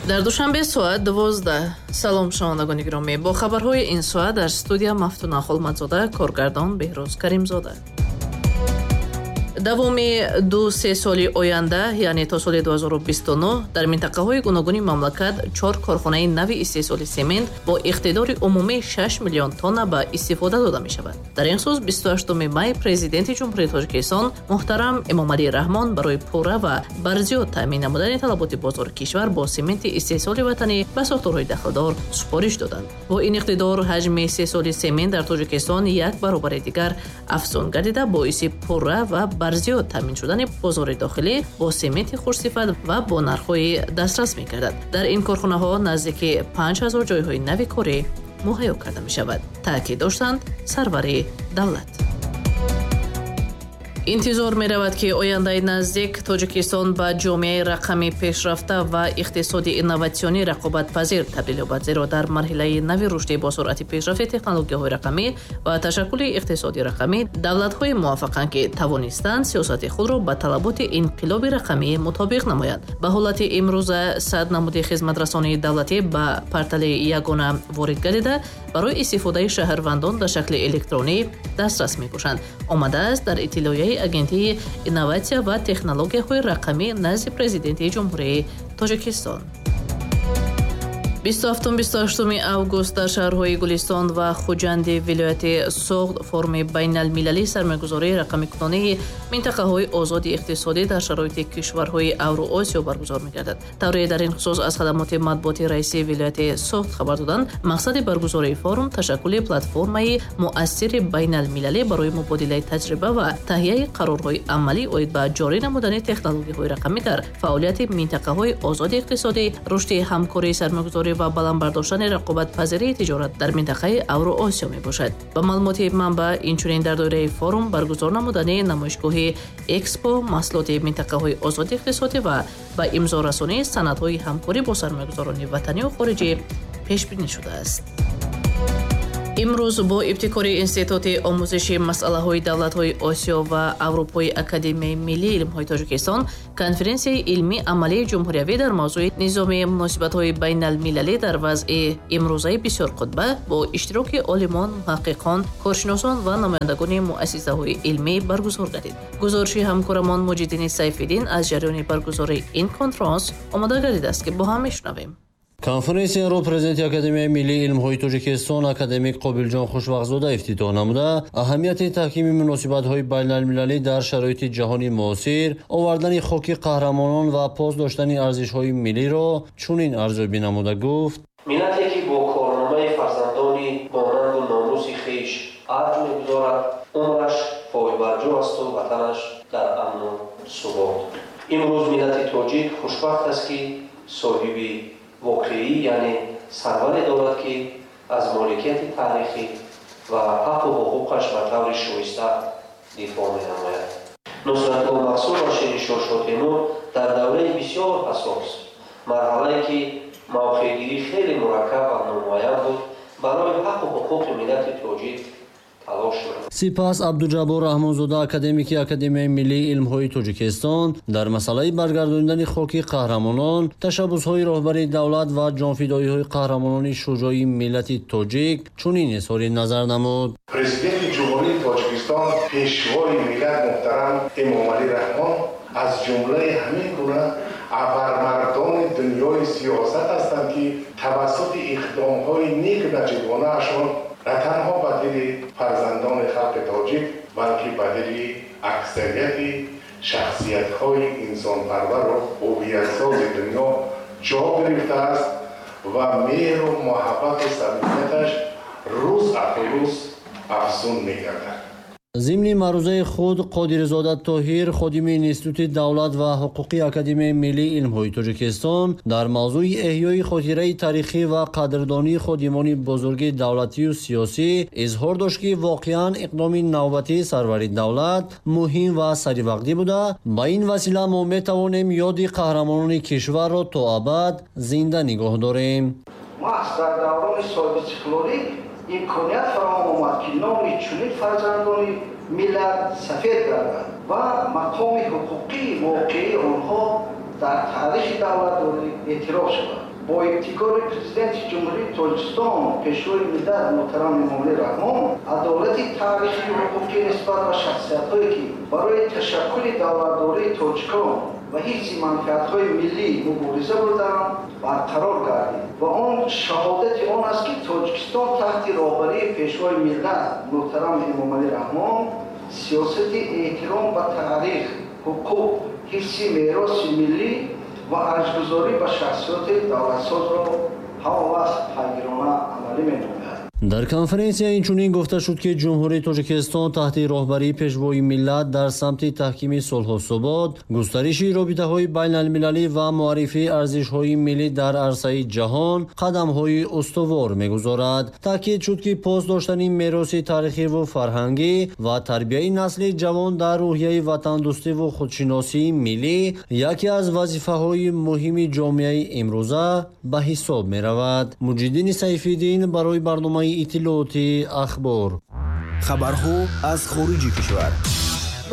Дар Душанбе соат 12. Салом, шунавандагони гиромӣ. Бо хабарҳои ин соат дар студия Мафтуна Холмадзода, коргардон Беҳрӯз Каримзода. Давоми 2-3 соли оянда, яъне то соли 2029, дар минтақаҳои гуногуни мамлакат 4 корхонаи нави истеҳсоли семент бо иқтидори умумии 6 миллион тонна ба истифода дода мешавад. Дар ин хусус 28 май Президенти Ҷумҳурии Тоҷикистон муҳтарам Эмомалӣ Раҳмон барои пурра ва барзиёд таъмин намудани талаботи бозори кишвар бо сементи истеҳсоли ватанӣ ба сохторҳои дахлдор супориш доданд. Бо ин иқтидор ҳаҷми истеҳсоли семент дар Тоҷикистон як баробари дигар афзун гардида, боиси пурра ва барзиёд таъмин шудани бозори дохилӣ бо сементи хушсифат ва бо нархҳои дастрас мегардад. Дар ин корхонаҳо наздики 5000 ҷойҳои нави корӣ муҳайё карда мешавад, таъкид доштанд сарвари давлат. Интизор меравад, ки ояндаи наздик Тоҷикистон ба ҷомеаи рақами пешрафта ва иқтисоди инноватсионӣ рақобатпазир табдил ёбад, зеро дар марҳилаи нави рушди бо суръати пешрафти технологияҳои рақамӣ ва ташаккули иқтисоди рақамӣ давлатҳое муваффақанд, ки тавонистанд сиёсати худро ба талаботи инқилоби рақамӣ мутобиқ намоянд. Ба ҳолати имрӯза 100 намуди хизматрасонии давлатӣ ба портали ягона ворид гардида, барои истифодаи шаҳрвандон дар шакли электронӣ дастрас мебошанд. Омадааст дар иттилоияи Агентии инноватсия ва технологияҳои рақамӣ назди Президенти Ҷумҳурии Тоҷикистон. 27-28 август дар шаҳрҳои Гулистон ва Хуҷанди вилояти Суғд форуми байналмилалии сармоягузории рақамикунонии минтақаҳои озоди иқтисодӣ дар шароити кишварҳои Авроосиё баргузор мегардад. Тавре дар ин хусус аз хадамоти матбуоти раиси вилояти Суғд хабар доданд, мақсади баргузории форум ташаккули платформаи муассири байналмилалӣ барои мубодилаи таҷриба ва таҳияи қарорҳои амалӣ оид ба ҷорӣ намудани технологияҳои рақамӣ дар фаъолияти минтақаҳои озоди иқтисодӣ, рушди ҳамкории сармоягузорӣ ва баланд бардоштани рақобатпазирии тиҷорат дар минтақаи Авроосиё мебошад. Ба маълумоти манбаъ, инчунин дар доираи форум баргузор намудани намоишгоҳи экспо маҳсулоти минтақаҳои озоди иқтисодӣ ва ба имзорасонии санадҳои ҳамкорӣ бо сармоягузорони ватанию хориҷӣ пешбинӣ шудааст. Имрӯз бо ибтикори Институти омӯзиши масъалаҳои давлатҳои Осиё ва Аврупои Академияи миллии илмҳои Тоҷикистон конференсияи илмии амалии ҷумҳуриявӣ дар мавзӯи низоми муносибатҳои байналмилалӣ дар вазъи имрӯзаи бисёрқутба бо иштироки олимон, муҳаққиқон, коршиносон ва намояндагони муассисаҳои илмӣ баргузор гардид. Гузориши ҳамкорамон Муҷиддини Сайфиддин аз ҷараёни баргузории ин конфронс омода гардидааст, ки бо ҳам мешунавем. Конференсияро президенти Академияи миллии илмҳои Тоҷикистон академик Қобилҷон Хушвақтзода ифтитоҳ намуда, аҳамияти таҳкими муносибатҳои байналмилалӣ дар шароити ҷаҳони муосир, овардани хоки қаҳрамонон ва пос доштани арзишҳои миллиро чунин арзёбӣ намуда гуфт: миллате ки бо корномаи фарзандони бо рангу номуси хеш арҷ мегузорад, умраш пойбарҷо асту ватанаш дар амну субот. Имрӯз миллати тоҷик хушбахт аст, ки соҳиби воқеӣ, яъне сарваре дорад, ки аз моликияти таърихӣ ва ҳаққу ҳуқуқаш ба таври шоиста дифоъ менамояд. Нусратулло Махсум ва Шириншоҳ Шотемур дар давраи бисёр ҳассос, марҳалае ки мавқеъгирӣ хеле мураккаб ва номуайян буд, барои ҳаққу ҳуқуқи миллати тоҷик. Сипас Абдуҷаббор Раҳмонзода, академики Академияи миллии илмҳои Тоҷикистон, дар масъалаи баргардонидани хоки қаҳрамонон, ташаббусҳои роҳбари давлат ва ҷонфидоиҳои қаҳрамонони шуҷоии миллати тоҷик чунин изҳори назар намуд. Президенти Ҷумҳурии Тоҷикистон, пешвои миллат муҳтарам Эмомалӣ Раҳмон аз ҷумлаи ҳамин гуна абармардони дунёи сиёсат ҳастанд, ки тавассути иқдомҳои нек наҷибонаашон на танҳо ба дили фарзандони халқи тоҷик, балки ба дили аксарияти шахсиятҳои инсонпарвару ҳувиятсози дунё ҷо гирифтааст ва меҳру муҳаббату самимияташ рӯз аз рӯз афзун мегардад. Зимни маърузаи худ Қодирзода Тоҳир, ходими Институти давлат ва ҳуқуқи Академияи миллии илмҳои Тоҷикистон, дар мавзӯи эҳёи хотираи таърихӣ ва қадрдонии ходимони бузурги давлатию сиёсӣ изҳор дошт, ки воқеан иқдоми навбатии сарвари давлат муҳим ва саривақтӣ буда, ба ин васила мо метавонем ёди қаҳрамонони кишварро то абад зинда нигоҳ дорем. Маҳз дар даврони соҳибистиқлолӣ Имконият фароҳам омад, ки номи чунин фарзандони миллат сафед гардад ва мақоми ҳуқуқии воқеии онҳо дар таърихи давлатдорӣ эътироф шавад. Бо ибтикори Президенти Ҷумҳурии Тоҷикистон, Пешвои миллат муҳтарам Эмомалӣ Раҳмон, адолати таърихию ҳуқуқӣ нисбат ба шахсиятҳое, ки барои ташаккули давлатдории тоҷикон ва ҳифзи манфиатҳои миллӣ мубориза бурданд, барқарор гардид ва он шаҳодати он аст, ки Тоҷикистон таҳти роҳбарии Пешвои миллат муҳтарам Эмомалӣ Раҳмон сиёсати эҳтиром ба таърих, ҳуқуқ, ҳифзи мероси миллӣ ва арҷгузорӣ ба шахсиёти давлатсозро ҳамавақт пайгирона амалӣ менамояд. Дар конференсия инчунин гуфта шуд, ки Ҷумҳурии Тоҷикистон таҳти роҳбарии Пешвои миллат дар самти таҳкими сулҳу субот, густариши робитаҳои байналмилалӣ ва муаррифии арзишҳои миллӣ дар арсаи ҷаҳон қадамҳои устувор мегузорад. Таъкид шуд, ки пос доштани мероси таърихиву фарҳангӣ ва тарбияи насли ҷавон дар рӯҳияи ватандӯстиву худшиносии миллӣ яке аз вазифаҳои муҳими ҷомеаи имрӯза ба ҳисоб меравад. Муҷиддини Сайфиддин барои барномаи иттилооти Ахбор. Хабарҳо аз хориҷи кишвар.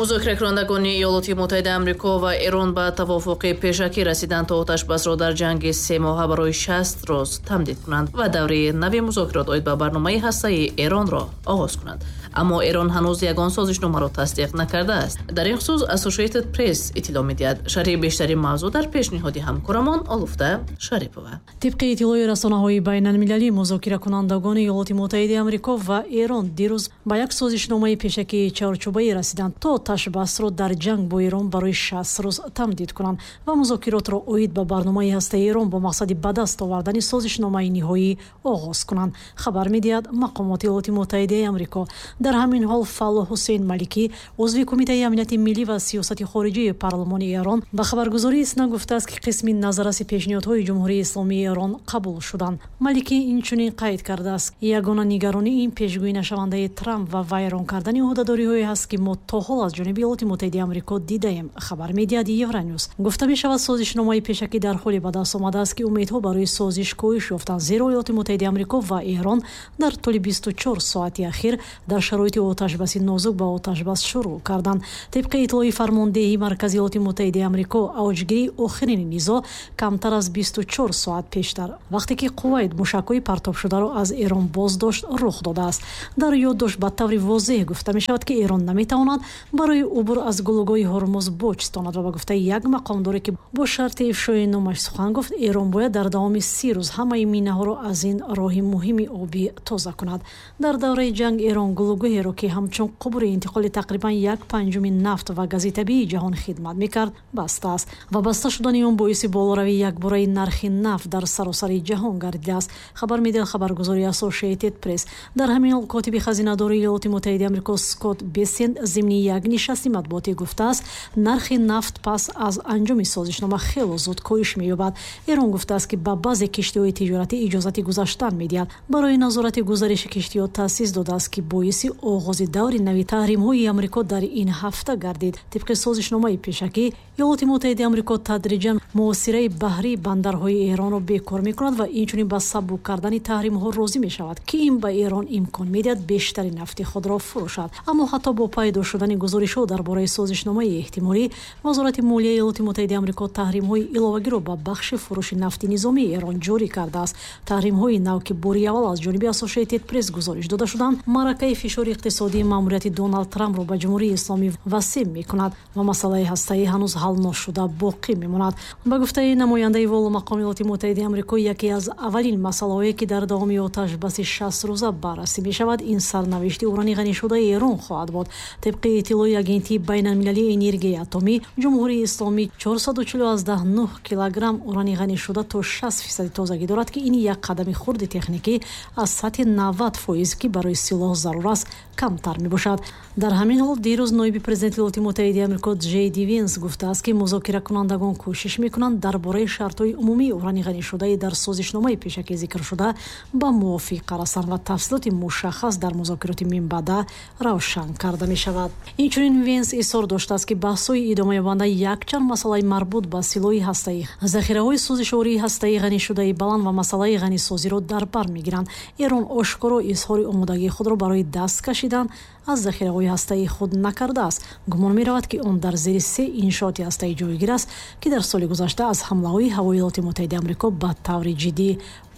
Музокиракунандагони Иёлоти Муттаҳидаи Амрико ва Эрон ба тавофуқи пешакӣ расиданд, то оташбасро дар ҷанги 3 моҳа барои 60 рӯз тамдид кунанд ва давраи нави музокирот оид ба барномаи ҳастаии Эронро оғоз кунанд. Аммо Эрон ҳанӯз ягон созишномаро тасдиқ накардааст. Дар ин хусус Associated Press иттилоъ медиҳад. Шарҳи бештари мавзӯъ дар пешниҳоди ҳамкорамон Олуфта Шарипова. Тибқи иттилои расонаҳои байналмилалӣ, музокиракунандагони Иёлоти Муттаҳидаи Амрико ва Эрон дирӯз ба як созишномаи пешакии чаҳорчӯбаӣ расиданд, то оташбасро дар ҷанг бо Эрон барои 60 рӯз тамдид кунанд ва музокиротро оид ба барномаи ҳастаи Эрон бо мақсади ба даст овардани созишномаи ниҳоӣ оғоз кунанд, хабар медиҳад мақомоти Иёлоти Муттаҳидаи Амрико. Дар ҳамин ҳол, Фалло Ҳусейн Маликӣ, узви Кумитаи амнияти миллӣ ва сиёсати хориҷии парлумони Эрон, ба хабаргузории ИСНА гуфтааст, ки қисми назарраси пешниҳодҳои Ҷумҳурии Исломии Эрон қабул шуданд. Маликӣ инчунин қайд кардааст: ягона нигаронӣ ин пешгӯӣ нашавандаи Трамп ва вайрон кардани ӯҳдадориҳое ҳаст, ки мо то ҳол аз ҷониби Иёлоти Муттаҳидаи Амрико дидаем, хабар медиҳад Евронюс. Гуфта мешавад, созишномаи пешакӣ дар ҳоле ба даст омадааст, ки умедҳо барои созиш коҳиш ёфтанд, зеро Иёлоти Муттаҳидаи Амрико ва Эрон дар тӯли 24 соати ахир дар шароити оташбаси нозук ба оташбас шурӯъ карданд. Тибқи иттилои фармондеҳии маркази Иёлоти Муттаҳидаи Амрико, авҷгирии охирини низоъ камтар аз 24 соат пештар, вақте ки Кувайт мушакҳои партобшударо аз Эрон боздошт, рух додааст. Дар ёддошт ба таври возеҳ гуфта мешавад, ки Эрон наметавонад барои убур аз гулӯгоҳи Ҳурмуз боҷ стонад ва ба гуфтаи як мақомдоре, ки бо шарти ифшои номаш сухан гуфт, Эрон бояд дар давоми 30 рӯз ҳамаи минаҳоро аз ин роҳи муҳими обӣ тоза кунад. Дар давраи ҷанг Эрон гулӯгоҳеро, ки ҳамчун қубури интиқоли тақрибан як панҷуми нафт ва гази табиии ҷаҳон хидмат мекард, бастааст ва баста шудани он боиси болоравии якбораи нархи нафт дар саросари ҷаҳон гардидааст, хабар медиҳад хабаргузории Associated Press. Дар ҳамин ҳол, котиби хазинадори Иёлоти Муттаҳидаи Амрико Скотт Бессент зимни як нишасти матбуотӣ гуфтааст, нархи нафт пас аз анҷоми созишнома хело зуд коҳиш меёбад. Эрон гуфтааст, ки ба баъзе киштиҳои тиҷоратӣ иҷозати гузаштан медиҳад, барои назорати гузариши киштиҳо таъсис додааст, ки боиси оғози даври нави таҳримҳои Амрико дар ин ҳафта гардид. Тибқи созишномаи пешакӣ, Иёлоти Муттаҳидаи Амрико тадриҷан муҳосираи баҳрии бандарҳои Эронро бекор мекунад ва инчунин ба сабук кардани таҳримҳо розӣ мешавад, ки ин ба Эрон имкон медиҳад бештари нафти худро фурӯшад. Аммо ҳатто бо пайдо шудани гузоришҳо дар бораи созишномаи эҳтимолӣ, Вазорати молияи Иёлоти Муттаҳидаи Амрико таҳримҳои иловагиро ба бахши фурӯши нафти низомии Эрон ҷорӣ кардааст. Таҳримҳои нав, ки бори аввал аз ҷониби Associated Press гузориш дода шуданд, маъракаи фишори иқтисодии маъмурияти Доналд Трампро ба Ҷумҳурии Исломӣ васеъ мекунад ва масъалаи ҳастаӣ ҳанӯз ҳал ношуда боқӣ мемонад. Ба гуфтаи намояндаи воломақоми Иёлоти Муттаҳидаи Амрико, яке аз аввалин масъалаҳое, ки дар давоми оташбаси 60 рӯза баррасӣ мешавад, ин сарнавишти урани ғанишудаи Эрон хоҳад буд. Тибқи иттилои Агентии байналмилалии энергияи атомӣ, Ҷумҳурии Исломӣ 440,9 килограмм урани ғанишуда то 60 фисади тозагӣ дорад, ки ин як қадами хурди техникӣ аз сатҳи 90 фоиз, ки барои силоҳ зарур аст. Камтар мебошад. Дар ҳамин ҳол, дирӯз ноиби президенти Иёлоти Муттаҳидаи Амрико Ҷей Ди Венс гуфтааст, ки музокиракунандагон кӯшиш мекунанд дар бораи шартҳои умумии урани ғанишудаи дар созишномаи пешакӣ зикршуда ба мувофиқа расанд ва тафсилоти мушаххас дар музокироти минбаъда равшан карда мешавад. Инчунин Венс изҳор доштааст, ки баҳсҳои идомаёбанда якчанд масъалаи марбут ба силоҳи ҳастаӣ, захираҳои сӯзишвории ҳастаии ғанишудаи баланд ва масъалаи ғанисозиро дар бар мегиранд. Эрон ошкоро изҳори омодагии худро барои даст кашидан аз захираҳои ҳастаии худ накардааст. Гумон меравад, ки он дар зери се иншооти ҳастаӣ ҷойгир аст, ки дар соли гузашта аз ҳамлаҳои ҳавои Иёлоти Муттаҳидаи Амрико ба таври ҷиддӣ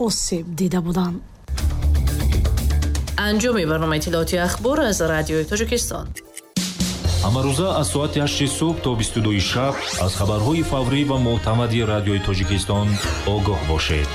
осеб дида буданд. Анҷоми барномаи иттилоотии «Ахбор» аз Радиои Тоҷикистон. Ҳамарӯза аз соати 8 субҳ то 22 шаб аз хабарҳои фаврӣ ва мӯътамади Радиои Тоҷикистон огоҳ бошед.